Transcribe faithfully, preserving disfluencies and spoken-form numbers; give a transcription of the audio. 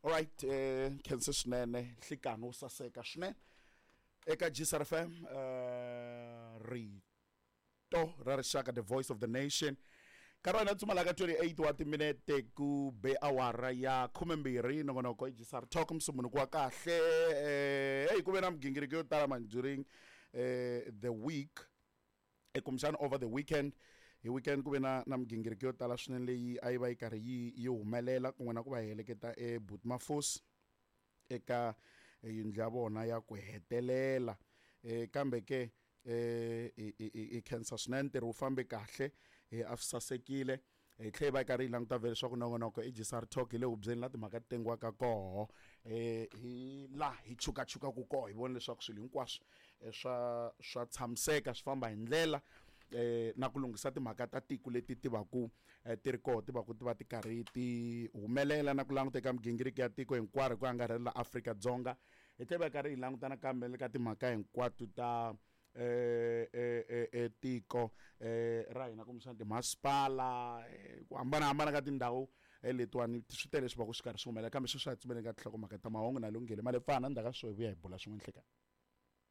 Alright, eh khensa swinene, nhlikani wo saseka swinene eka G S R F M, eh rito ra rixaka, the voice of the nation. Nkarhi wa hina tsumalaka twenty-eight wa timinete ku be awara ya khumembirhi. Nongonoko i G S R Talk, musumbunuku wa kahle. eh hey ku ve na migingiriko yo tala man during eh the week, eh, kumbexana over the weekend. Hi weekend ku ve na na migingiriko yo tala swinene leyi a yi va yi karhi yi yi humelela, kun'we na ku va heleketa eButmafosi eka yindlu ya vona ya ku hetelela. eh kambe ke eh i i khensa swinene, ntirho wu fambe kahle, eh a swi sasekile. Hi tlhela hi va hi karhi hi languta vhele leswaku nongonoko i G S R Talk, hi le hubyeni la timhaka ti tengiwaka koho, eh hi laha hi chukachukaka koho, hi vona leswaku swilo hinkwaswo swa swa tshamiseka, swi famba hi ndlela, eh na ku lunghisa timhaka ta tiko leti ti va ku ti ri koho, ti va ku ti va ti karhi ti humelela, na ku languta eka migingiriko ya tiko hinkwaro hi ku angarhela Afrika-Dzonga. Hi tlhela hi karhi hi languta nakambe le ka timhaka hinkwato ta eh eh eh tiko eh ra hina, kumbexana timasipala, ku hambanahambana ka tindhawu letiwani. Swi tele leswi va ku swi karhi swi humelela, kambe sweswi a hi tsumeleni ka tinhlokomhaka ta mahungu na Lunghile Malepfana. Ndzhaku ka sweswo hi vuya hi bula swin'we nhlekani.